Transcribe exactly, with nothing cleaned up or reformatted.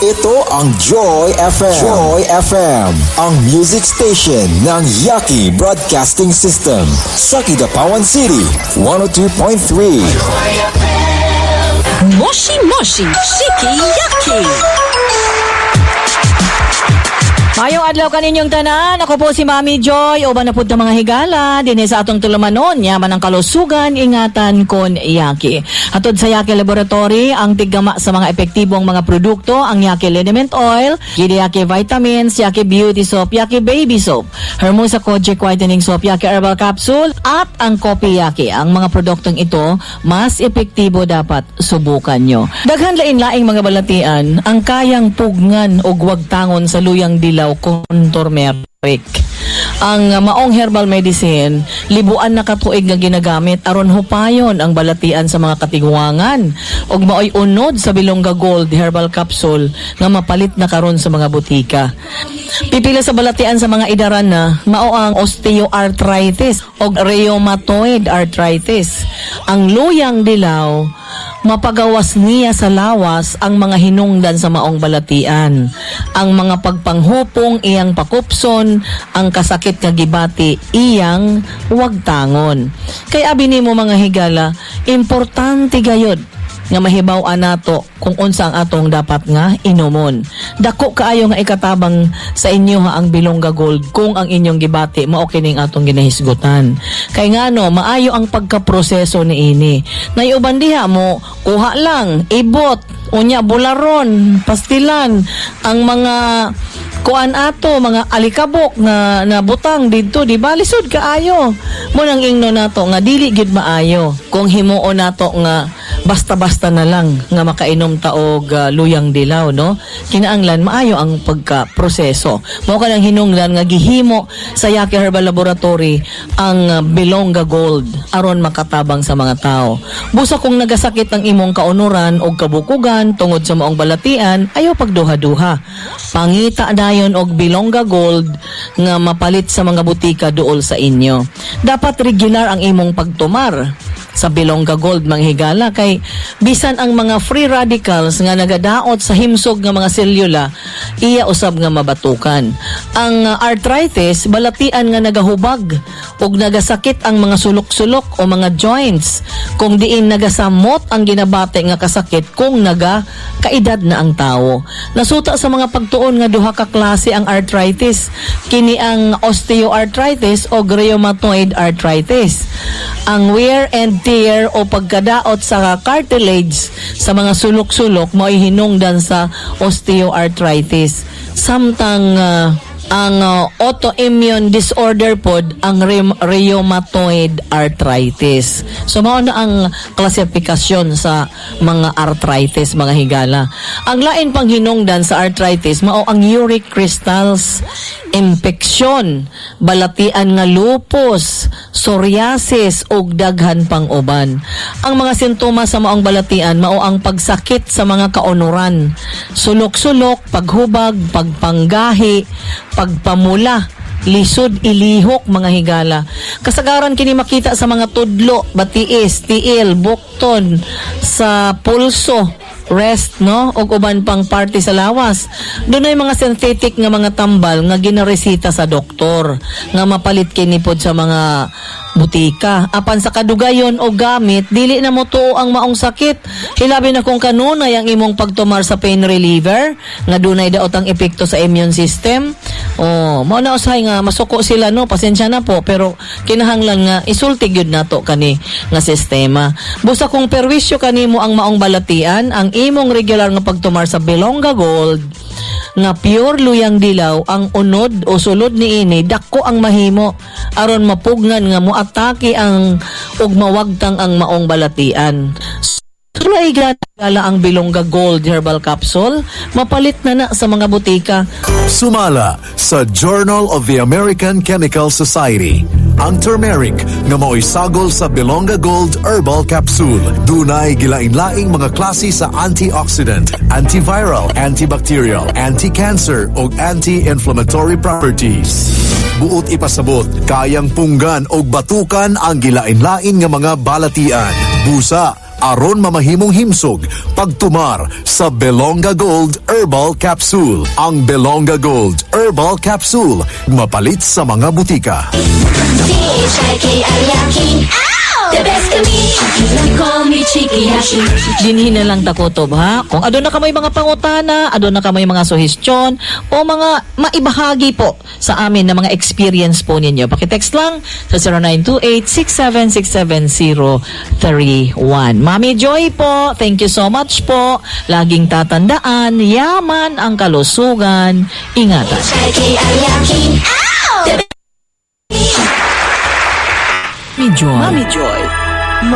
Ito ang Joy F M. Joy F M, ang music station ng Yaki Broadcasting System. Sa Kidapawan City, one oh two point three. Moshi Moshi Shiki Yaki. Mayong adlaw kaninyong tanan. Ako po si Mami Joy. Uban na pud ta, mga higala dinhi sa atong tulumanon, yaman ang kalusugan, ingatan kon Yaki. Hatod sa Yaki Laboratory, ang tiggama sa mga epektibong mga produkto, ang Yaki Liniment Oil, Yaki Vitamins, Yaki Beauty Soap, Yaki Baby Soap, Hermosa Kojic Whitening Soap, Yaki Herbal Capsule, at ang Kopi Yaki. Ang mga produktong ito, mas epektibo, dapat subukan nyo. Daghan lain-laing mga balatian ang kayang pugngan og wagtangon sa luyang dilaw kon turmeric. Ang uh, maong herbal medicine, libuan na katuig nga ginagamit aron hupayon ang balatian sa mga katiguangan. Ug maoy unod sa Bilongga Gold Herbal Capsule nga mapalit na karon sa mga butika. Pipila sa balatian sa mga idaran na mao ang osteoarthritis o rheumatoid arthritis. Ang luyang dilaw, mapagawas niya sa lawas ang mga hinungdan sa maong balatian. Ang mga pagpanghupong iyang pakupson, ang kasakit nga gibati iyang wagtangon. Kay abi nimo, mga higala, importante gayod nga mahibaw-an nato kung unsa ang atong dapat nga inumon. Dako kaayo nga ikatabang sa inyo ha ang Bilongga Gold kung ang inyong gibati mao kining atong ginahisgutan. Kay ngano, maayo ang pagkaproseso niini. Nay uban diha mo kuha lang, ibot, unya bularon, pastilan, ang mga kuan ato, mga alikabok nga na butang didto, di ba? Lisod kaayo. Mao nang ingno nato nga dili gyud maayo kung himuon nato nga basta-basta na lang nga makainom ta og uh, luyang dilaw, no? Kinaanglan maayo ang pagka-proseso. Mao kanang hinungdan nga gihimo sa Yaki Herbal Laboratory ang uh, Bilongga Gold aron makatabang sa mga tao. Busa kung nagasakit ang imong kaunuran og kabukugan tungod sa maong balatian, ayaw pagduha-duha. Pangita dayon og Bilongga Gold nga mapalit sa mga butika duol sa inyo. Dapat regular ang imong pagtumar sa Bilongga Gold, mga higala, kay bisan ang mga free radicals nga nagadaot sa himsog nga mga selula, iya usab nga mabatukan. Ang uh, arthritis, balatian nga nagahubag ug nagasakit ang mga sulok-sulok o mga joints kung diin nagasamot ang ginabate nga kasakit kung naga kaedad na ang tawo. Nasuta sa mga pagtuon nga duha ka klase ang arthritis, kini ang osteoarthritis o rheumatoid arthritis. Ang wear and tear o pagkadaot sa cartilage sa mga sulok-sulok mao'y hinungdan sa osteoarthritis. Samtang uh, ang uh, autoimmune disorder pod ang rheum- rheumatoid arthritis. So mao na ang klasifikasyon sa mga arthritis, mga higala. Ang lain pang hinungdan sa arthritis mao ang uric crystals, impeksyon, balatian nga lupus, psoriasis ug daghan pang uban. Ang mga sintomas sa maong balatian mao ang pagsakit sa mga kaunuran, sulok-sulok, paghubag, pagpanggahi, pagpamula, lisod ilihok, mga higala. Kasagaran kini makita sa mga tudlo, batiis, tiil, bukton, sa pulso, wrist, no, ug uban pang parte sa lawas. Dunay mga synthetic nga mga tambal nga ginaresita sa doktor nga mapalit kini pod sa mga butika. Apan sa kadugayon o gamit, dili na mo tuo ang maong sakit. Hilabi na kung kanunay ang imong pagtumar sa pain reliever nga dunay daot ang epekto sa immune system. Oh, mao na usahay nga masuko sila, no, pasensya na po, pero kinahanglan nga isulti gyud nato kani nga sistema. Busa kung perwisyo kanimo ang maong balatian, ang imong regular nga pagtumar sa Bilongga Gold nga pure luyang dilaw ang unod o sulod niini, dako ang mahimo aron mapugngan nga moatake ang ug mawagtang ang maong balatian. Sulay gala ang Bilongga Gold Herbal Capsule, mapalit na na sa mga butika. Sumala sa Journal of the American Chemical Society, ang turmeric nga mao'y sagol sa Bilongga Gold Herbal Capsule, dunay gilain-laing mga klase sa antioxidant, antiviral, antibacterial, anti-cancer ug anti-inflammatory properties. Buot ipasabot, kayang punggan og batukan ang gilain-lain nga mga balatian. Busa, Aron mamahimong himsog pagtumar sa Belonga Gold Herbal Capsule. Ang Belonga Gold Herbal Capsule mapalit sa mga butika. C H I K I Yaki. The best kami. Call me Chikiyashi. Dinhi na lang ta kutob, ha. Kung aduna kamoy mga pangutana, aduna kamoy mga suhestyon o mga maibahagi po sa amin na mga experience po ninyo. Paki-text lang sa zero nine two eight, six seven six seven zero three one. Mami Joy po, thank you so much po. Laging tatandaan, yaman ang kalusugan. Ingatan. C H I K I Yaki. The Mami Joy. Mami Joy.